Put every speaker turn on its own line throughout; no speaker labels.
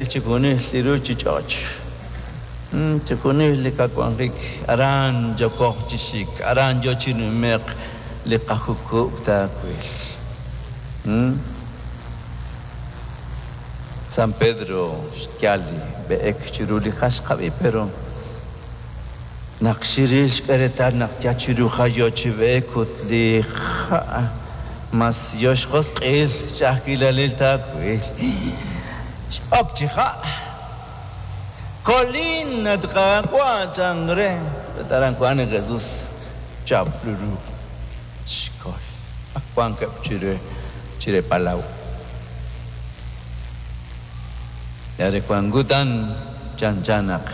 Chixjunil li ruuchich'och', chixjunil li qawanjik, aran yookoj chi xik, aran yo chi nume'k li qajukub' taawil. San Pedro xyal li b'eek chiru li ha' xqab'i, pero naq xiril xk'e reetal naq yal chiru ha' yo chi b'eek ut li ha' mas yo xjosq'il xch'a'ajkilalil taawil. X'ok chi ha'. Kolin, at Qaawa', chan re. Ut aran wank li Jesus, chap li ruq', xkol. Ak wankeb' chire chire palaw. Yal re wank kutan chanchan naq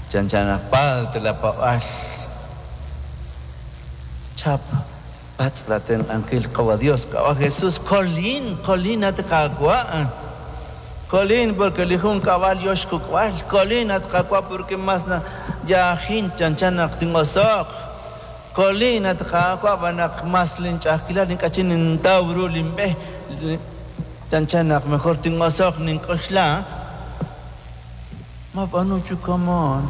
chanchan naq palt la paab'aal. Chap, patz' la tenq'ankil Qawa' Dios, Qawa' Jesus, kolin, kolin at Qaawa'. Kolin porque li junkab'al yo xkukb'al. Kolin at Qaawa' porque mas na yaajin chanchan naq tin'oso'q. Kolin at Qaawa' b'an naq mas linch'a'ajkilal ink'a' chik nintaw ru linb'e. Chanchan naq mejor tin'oso'q nink'oxla. Mab'aanu chi kama'an,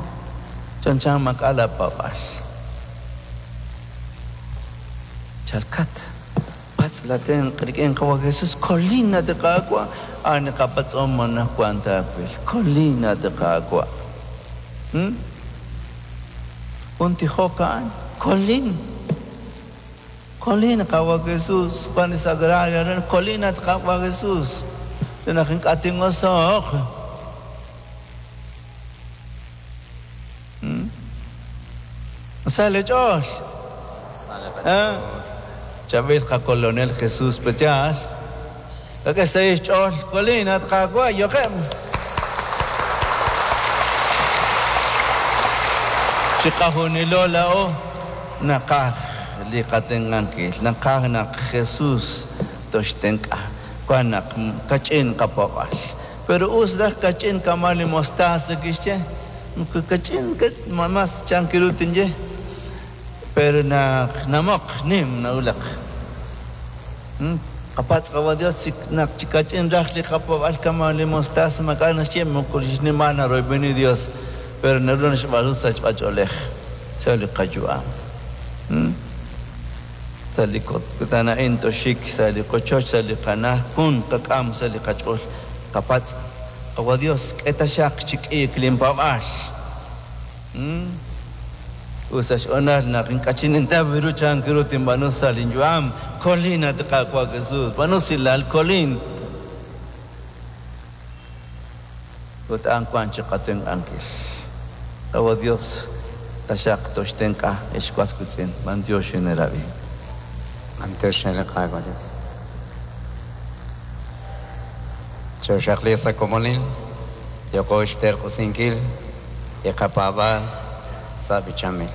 chanchan maak'a' laapaab'aal. Chalkat, patz' laatenq' rik'in Qawa' Jesus, Kolin, at Qaawa', a'an li qapatz'om anaqwan taawil. Kolin, at Qaawa'. Jun tijok a'an, Kolin. Kolin, Qawa' Jesus, wan li sagrario aran, Kolin, at Qaawa' Jesus, re naq ink'a' tin'oso'q. Sa' li ch'ool. Chaab'il qaKolonel Jesus, pe'yaal? K'e xsahil xch'ool, Kolin, at Qaawa', yo'qeb'. Chiqajunilo laa'o naqaj li qatenq'ankil, naqaj naq Jesus toxtenq'a. Wan naq kach'in qapaab'aal. Pero us raj kach'in kama' li mostaza kixye, moko kach'in mas chank ru tinye, pero naq namoq nim nawulak. Qapatz' Qawa' Dios naq chi kach'in raj li qapaab'aal kama' li mostaza maak'a' naxye moko li xnimal naroyb'eni Dios, pero naru naxb'aanu sachb'ach'oolej sa' li qayu'am. Sa' li kutan a'in toxik sa' li qochoch, sa' li qana'aj, jun qak'am sa' li qach'ool qapatz', Qawa' Dios, k'e taxaq chi k'iik linpaab'aal. Ut sa' xhoonal naq ink'a' chik nintaw ru chank ru tinb'aanu sa' linyu'am, kolin, at Qaawa' Jesus, b'aanu usilal, kolin. Ut a'an wank chi qatenq'ankil. Qawa' Dios, taxaq toxtenq'a, ex was wiitz'in. B'antiox xineerab'i.
B'antiox re li Qaawa' Dios. Chooxaqliiq sa' komonil, yooqo xterq'usinkil li qapaab'aal sa' b'ichanb'il.